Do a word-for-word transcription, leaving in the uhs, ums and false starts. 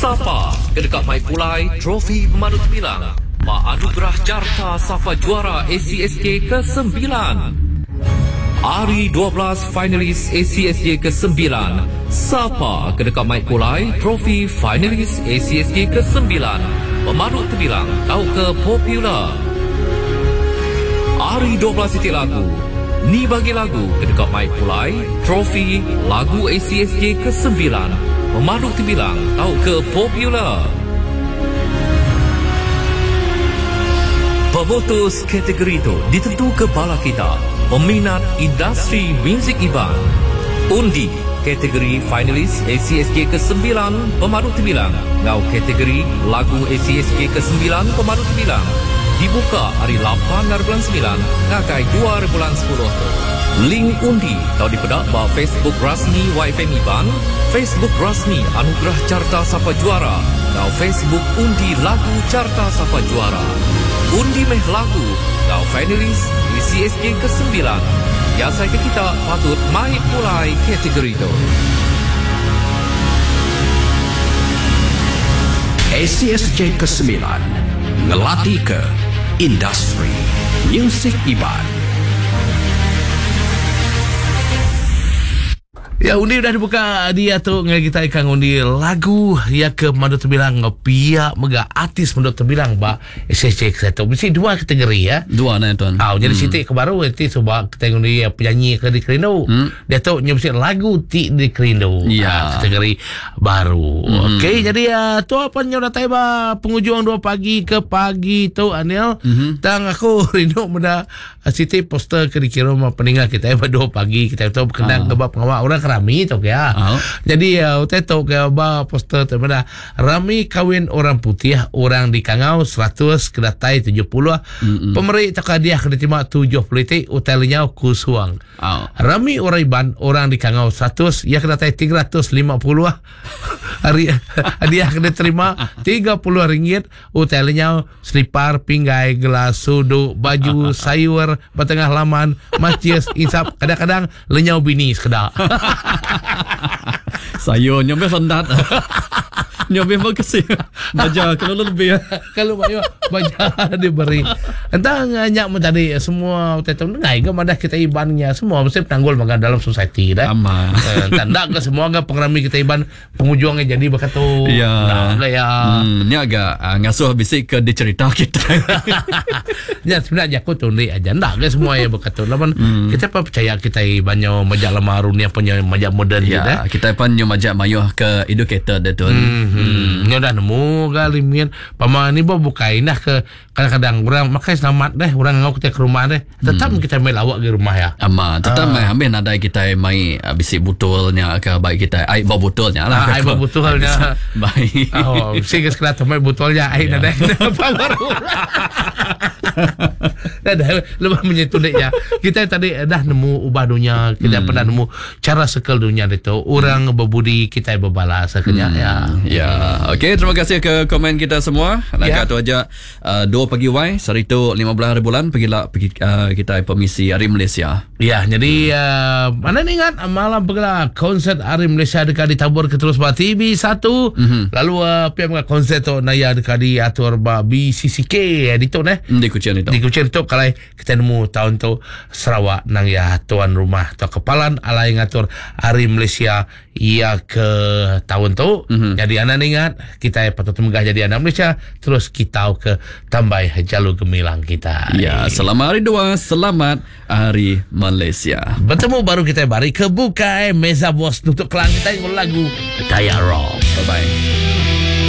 Sapa ke dekat mai pulai trofi pemandu terbilang ba Anugerah Carta Sapa Juara A C S J kesembilan. Hari dua belas finalis A C S J kesembilan. Sapa ke dekat mai pulai trofi finalis A C S J kesembilan pemandu terbilang tau ke popular. Hari dua belas titik lagu. Ni bagi lagu ke dekat mai pulai trofi lagu A C S J kesembilan pemandu terbilang tau ke popular. Pemutus kategori itu ditentu ke bala kita peminat industri muzik Iban. Undi kategori finalis A C S J kesembilan pemandu terbilang ngau kategori lagu A C S J kesembilan pemandu terbilang dibuka hari lapan hari bulan sembilan ngagai dua hari bulan sepuluh. Link undi tau dipedak ba Facebook rasmi Y F M Iban, Facebook rasmi Anugerah Carta Sapa Juara, ngau Facebook undi lagu Carta Sapa Juara. Undi meh lagu ngau finalis A C S J kesembilan. Ya saya ke kita patut mai pulai kategori tu. A C S J kesembilan ngelatih ke industri muzik Iban. Ya, undi dah dibuka dia tu dengan kita ikan undi lagu ya ke pemandu terbilang pihak mega artis pemandu terbilang ba S S J satu. Mesti dua kategori ya. Dua nah tuan. Ah, jadi hmm. Siti ke baru nanti sebab kita undi penyanyi ke dikerindu. Hmm. Dia tu mesti lagu ti dikerindu. Ya. Ah, kategori baru. Hmm. Okey, jadi uh, tu apa nyo datai ba penghujung dua pagi ke pagi tu Anil. Hmm. Tang aku rindu benda Siti poster ke dikirim peninggal kita ba dua pagi kita tu berkenaan ah. ke pengawal orang rami tu ya. Oh. Jadi uh, utai tu ke ba poster tu pada rami kawin orang putih orang di Kangau seratus kedatai tujuh puluh. Mm-mm. Pemeri tak hadiah kena terima tujuh puluh titik utai lenyau kusuang. Oh. Rami orang Iban orang di Kangau seratus ia kedatai tiga ratus lima puluh. Hari hadiah kena terima tiga puluh ringgit utai lenyau selipar pinggai gelas suduk baju sayur bertengah laman macis insap kadang-kadang lenyau bini sekedar. Sayur nyampe sendat. Nyampe berkesih. Baja kalau lebih. Kalau banyak baja diberi. Entah nyak tadi semua tetum dengai ke madah kita ibannya semua mesti penanggul makan dalam society dah. Aman. Eh, tak ke semua ke pengerami kita iban penghujungnya jadi berkatu. Ya. Nah, ya. Hmm, ni agak uh, ngasuh bisik ke dicerita kita. Ya sebenarnya aku tundi aja ndak ke semua ya berkatu. Lamun hmm. kita apa percaya kita ibannya majak lama runia punya majak moden ya, dah. Kita pun nyo majak mayuh ke educated dah tu. Hmm. Hmm. Nyo dah nemu kali mian pama ni bo bukai nah ke kadang-kadang orang makai selamat deh orang ngau kita ke rumah deh tetap hmm. kita main lawak ke rumah ya. Ama tetap ah. main ambil nadai kita main bisik botolnya ke baik kita air bawa botolnya lah. Ah, air bawa botolnya. Baik. Oh, sing ke main botolnya air ya. Nadai apa baru. Dah dah lebih menyentuh ya. Kita tadi dah nemu ubah dunia, kita hmm. pernah nemu cara sekel dunia itu. Orang hmm. berbudi kita berbalas akhirnya hmm. ya. Ya. Okey, terima kasih ke komen kita semua. Nak ya. tu aja uh, dua pagi Y sehari tu lima belas hari bulan pergilah pergi uh, kita permisi Hari Malaysia. Ya, jadi hmm. uh, mana ni ingat malam pergilah konsert Hari Malaysia dekat ditabur ke terus ba T V satu. Mm-hmm. Lalu uh, pihak konsert tu naya dekat diatur ba B C C K di tu neh. Di Kuching itu. Di Kuching tu kalau kita nemu tahun tu Sarawak nang ya tuan rumah atau kepalan alai ngatur Hari Malaysia ia ke tahun tu. Mm-hmm. Jadi anak ingat kita patut megah jadi anak Malaysia terus kita ke tambai jalur gemilang kita. Ya, selamat hari dua, selamat Hari Malaysia. Bertemu baru kita bari ke bukai Meza Bos tutup kelang kita lagu Daya Rock. Bye bye.